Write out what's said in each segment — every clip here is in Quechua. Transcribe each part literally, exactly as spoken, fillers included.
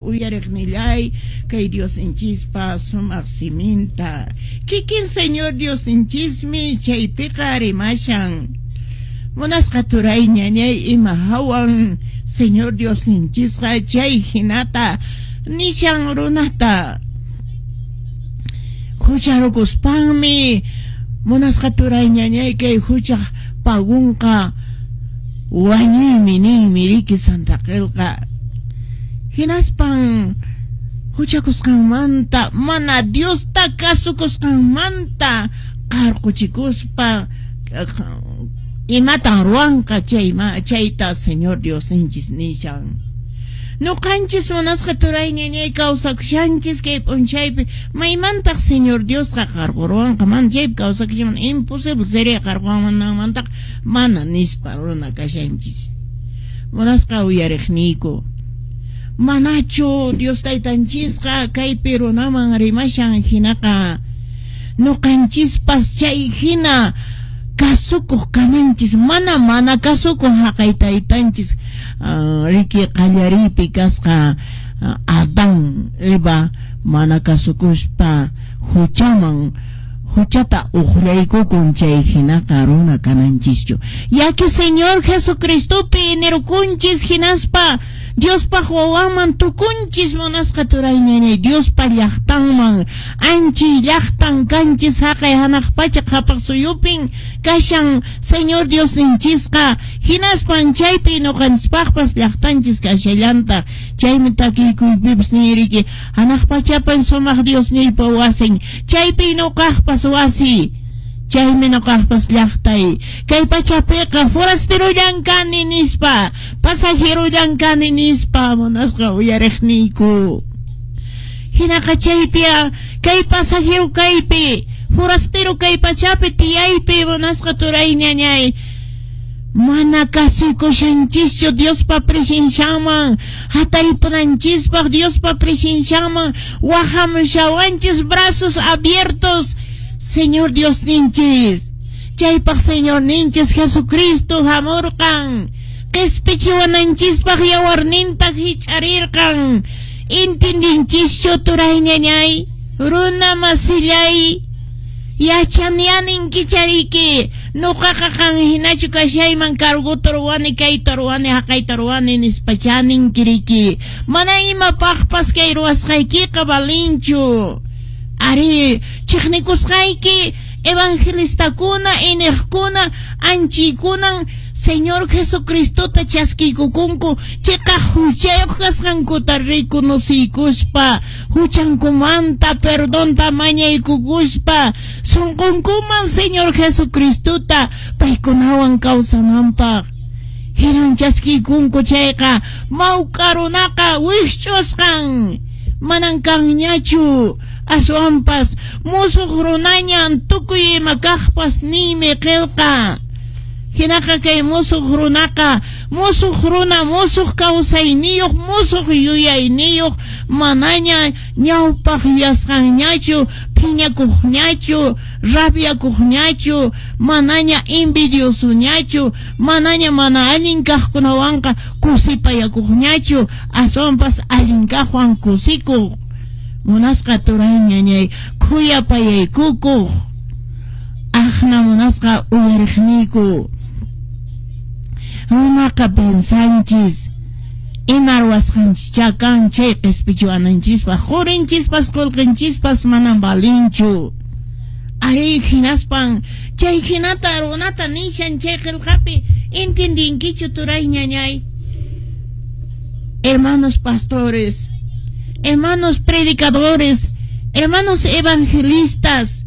Uyariqnillay kay Diosninchispa sumaq siminta. Kikin Señor Diosninchismi chaypiqa rimashan. Munasqa turay ñañay ima hawan Señor Diosninchisqa chay hinata nishan runata. Hucharukuspanmi munasqa turay ñañay kay huchaq pagunqa wañuymi ninmi riki Santa Qillqa. Hinaspan huchakusqanmanta mana Diosta kasukusqanmanta qarquchikuspa imatan ruwanqa chayma chayta Señor Diosninchis nishan. Nuqanchis munasqa turay ñañay kawsakushanchis kay p'unchaypi maymantaq Señor Diosqa qarquruwanqa mana chaypi kawsakushan imposible sería qarquwanmantaqa mana nispa runa kashanchis. Munasqa uyariqniyku. Manachu Dios taytanchisqa kaypi runaman rimashan hinaqa nuqanchispas chay hina kasukuq kananchis mana mana kasukuq haqay taytanchis uh, riki qallariypi kasqa uh, Adán Eva mana kasukuspa huchaman huchata uqllaykukun chay hinaqa runa kananchischu. Yaki Señor Jesucristopi nirukunchis hinaspa Diospaq wawanman tukunchis munasqa turay ñañay Diospa llaqtanman anchi llaqtan kanchis haqay hanaq pacha qhapaq suyupin kashan Señor Diosninchisqa hinaspan chaypi nuqanchispaqpas llaqtanchis kashallantaq chaymi takiykuypipas niriki hanaq pachapan sumaq Diosniypa wasin chaypi nuqaqpas wasi chaymi nuqaqpas llaqtay kay pachapiqa forastero kani nispa pasajero kani nispa munasqa uyariqniyku hinaqa chaypia kay pasajero kaypi forastero kay pachapi tiyaypi munasqa turay ñañay mana kasuykushanchischu Diospa presencianman hataripunanchispaq Diospa presencianman wahamushawanchis brazos abiertos Señor Dios ninchis chaypaq Señor ninchis Jesucristo hamurqan qispichiwananchispaq yawarninta hich'arirqan intindinchischu turay ñañay runa masillay yachanianin kichariki nuqaqa qan hinachu kashayman carguta ruwani kayta ruwani haqayta ruwani nispa chaninkiriki mana imapaqpas kay ruwasqaykiqa valinchu. Ari chiqnikusqayki evangelistakuna iniqkuna anchikunan Señor Jesucristota chaskiykukunku chiqa huchayuq kasqankuta reconociykuspa huchankumanta perdonta mañaykukuspa sunqunkuman Señor Jesucristota paykunawan kawsananpaq hinan chaskiykunku chayqa mawk'a runaqa wikch'usqan manan kanñachu aswanpas musuq runañan tukuy ima kaqpas niymi qillqa hinaqa kay musuq runaqa musuq runa musuq kawsayniyuq musuq yuyayniyuq manaña ñawpaq yuyasqanñachu phiñakuqñachu rabiakuqñachu manaña envidiosoñachu manaña mana allin kaqkunawanqa kusipayakuqñachu aswanpas allin kaqwan kusikuq munasqa turay ñañay khuyapayaykukuq aqna munasqa uyariqniyku runaqa piensanchis ima ruwasqanchischá kan chay qispichiwananchispaq qurinchispas qullqinchispas manan valinchu ari hinaspan chay hinata runata nishan chay qillqapi intindinkichu turay ñañay. Hermanos pastores, hermanos predicadores, hermanos evangelistas,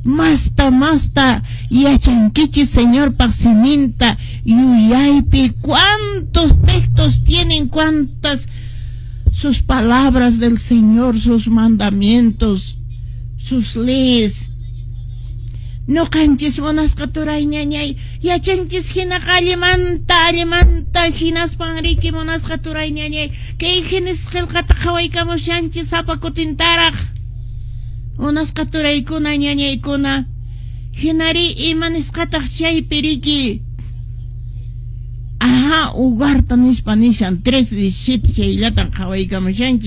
masta masta yachankichis Señor siminta yuyaypi cuántos textos tienen, cuántas sus palabras del Señor, sus mandamientos, sus leyes. Nuqanchis munasqa turay ñañay yachanchis hinaqa allimanta allimanta hinaspan riki munasqa turay ñañay kay Génesis qillqata qhawaykamushanchis sapa kutintaraq munasqa turaykuna ñañaykuna hinari ima nisqataq chaypi riki Aha, Ugarta nispa nishan tres diecisiete chayllatan qhawaykamushanchis.